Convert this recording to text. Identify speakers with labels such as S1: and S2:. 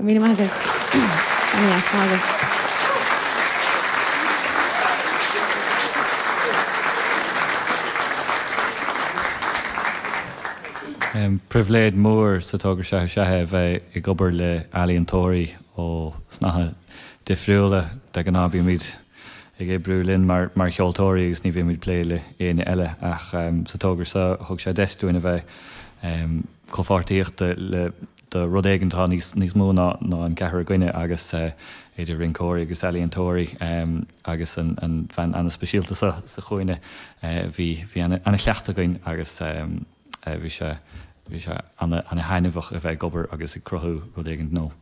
S1: Go raibh míle maith agaibh. Ana-dheas, maith agaibh.
S2: Pribhléid mór sa togra seo is ea é a bheith ag obair le ealaíontóirí ó snáithe difriúla. De ghnáth bímid ag oibriú linn mar cheoltóirí agus ní bhímid ag plé le éinne eile ach sa togra seo thug sé deis dúinn a bheith comhpháirtíochta le do rud éigin atá níos níos mó ná ná an ceathrar againne agus idir rinceoirí agus ealaíontóirí agus an an bhean ana-speisialta seo sa chúinne bhí bhí ana ana-chleachtadh againn agus bhí sé bhí sé ana ana-thaitneamhach a bheith ag obair agus ag cruthú rud éigin nua.